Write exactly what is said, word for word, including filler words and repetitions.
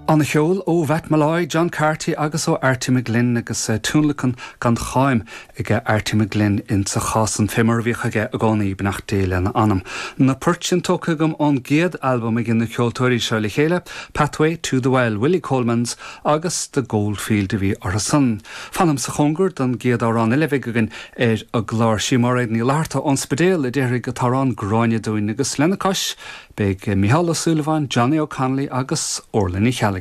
An-cheol ó Mhatt Molloy, John Carty agus ó Artie McGlynn agus uh, tionlacan gan cháim ag Artie McGlynn in sa chás an fé mar a bhíodh aige i gcónaí beannacht Dé lena anam. Na poirt sin tógtha agam ón gcéad albam ag na ceoltóirí seo le chéile, Pathway to the Well, Willie Colemans agus The Goldfield a bhí orthu san. Fanaim sa chóngar don gcéad amhrán eile againn ar an gclár sí Máiréad Ní Fhlatharta ón Spidéal a déarfaidh an t-amhrán Gráinne dúinn agus lena cois, beidh Micheál Ó Súilleabháin, Johnny O'Connolly agus Orla Ní Cheallaigh.